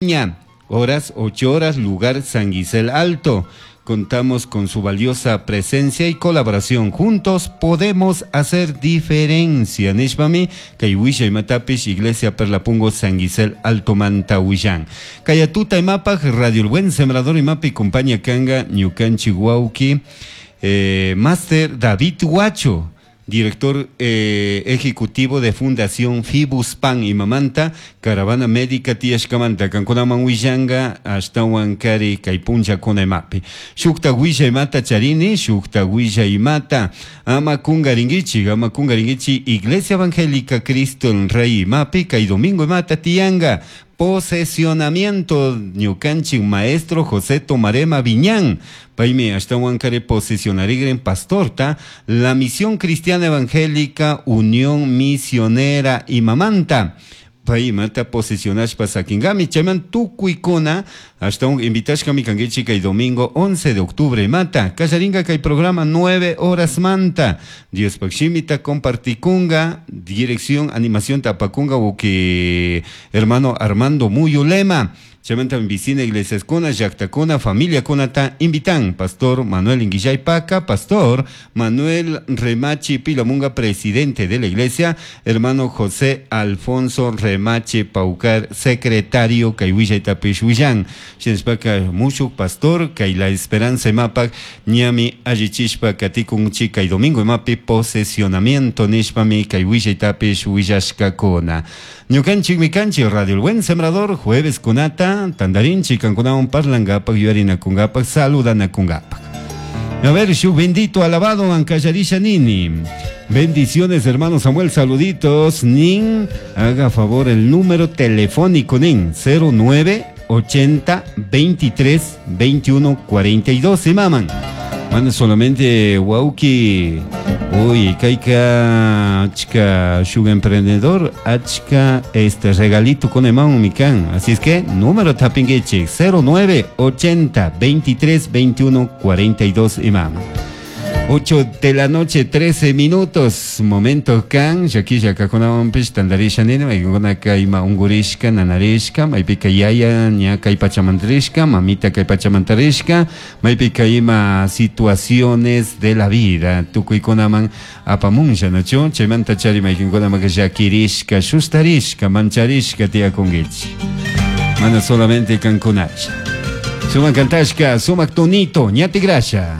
Ña, horas 8 horas, lugar San Gisel Alto. Contamos con su valiosa presencia y colaboración. Juntos podemos hacer diferencia. Nishpami, kay wisha imatapish, Iglesia Perlapungo San Gisel Alto Manta Huillán. Kayatuta imapaj, Radio El Buen Sembrador imapi, compañía kanga, ñukanchi wauki, Master David Huacho, director ejecutivo de Fundación Fibuspan imamanta, caravana médica tiyashkamanta, kankunaman willanga, ashtawan kari kay punllakuna imapi. Shukta willa imata charini, shukta willa imata, ama kungaringuichi, ama kungaringuichi, Iglesia Evangélica Cristo el Rey imapi, kay domingo imata tiyanga, posesionamiento ñukanchik maestro José Tomarema Viñán, paymi ashtawan kari posesionarigren pastorta, la Misión Cristiana Evangélica Unión Misionera imamanta, pay imata posesionashpa saquingami, chayman tukuykuna ashtawan invitashkami kankichik kay domingo 11 de octubre imata, kallaringa kay programa 9 horas manta, Diospak shimita compartikunga, dirección animación tapakunga uki hermano Armando Muyulema, chaymanta vicina iglesiaskuna, llaktakuna, familiakunata invitan, Pastor Manuel Inguillay Paca, Pastor Manuel Remachi Pilamunga, presidente de la iglesia, hermano José Alfonso Remachi Paucar, secretario kay willaytapish willan, shinashpaka mushuk pastor kay La Esperanza imapak ñami allichishpa katikunchik kay domingo imapi posesionamiento nishpami kay willaytapish willashkakuna. Ñukanchikmi kanchik Radio El Buen Sembrador, jueves kunata tandarinchik kankunawan parlangapak, yuyarinakungapak, saludanakungapak. A ver, shuk bendito alabado ankallarisha nini. Bendiciones, hermano Samuel, saluditos. Nin, haga favor el número telefónico, nin, cero nueve ochenta 23 21 42. Se maman. Manda solamente wauki. Uy, kaika achka shuk emprendedor, achka este regalito con emaun mikan. Así es que número tapingueche cero nueve ochenta 23 21 42 imam. 8 de la noche, 13 minutos. Momento kan, yaki yakakunawan pish tandarisha nini, maykuna kay ima ungurishka, nanarishka, maypika yaya ña kay pachamantarishka, mamita kay pachamantarishka, maypika ima situaciones de la vida, tukuykunaman apamunsha, nachu? Chaymanta chari maykinkunaman llakirishka, shustarishka, mancharishka tiyakunkichik. Mana solamente kankunacha. Sumak kantashka, sumak tonito, ñati grasha.